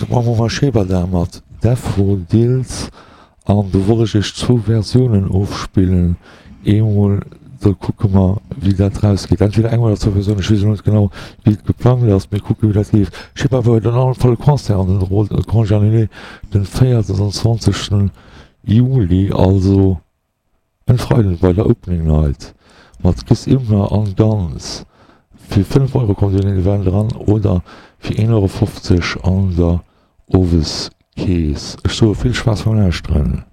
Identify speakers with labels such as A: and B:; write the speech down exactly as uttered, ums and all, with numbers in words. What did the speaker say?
A: Maache mer Shebada mat Daffodils an do wollt ech iech zwou Versiounen ofspillen. Eemol, da kucke mer wéi dat rausgeet. Entweder eng oder zwou Versiounen, ech weess elo net genau wéi et geplangt ass. Mir kucke wéi dat leeft. Shebada huet an allem Fall e Concert an den Rôle Congé annulé den véierundzwanzegsten Juli, also en Freiden bei der Opening Night mat Chris Imler an Guns. Fir fënnef Euro kommt dir an den Event eran oder fir een Euro fofzeg an der Oweskeess. Ech soe vill Spaass beim Lauschteren.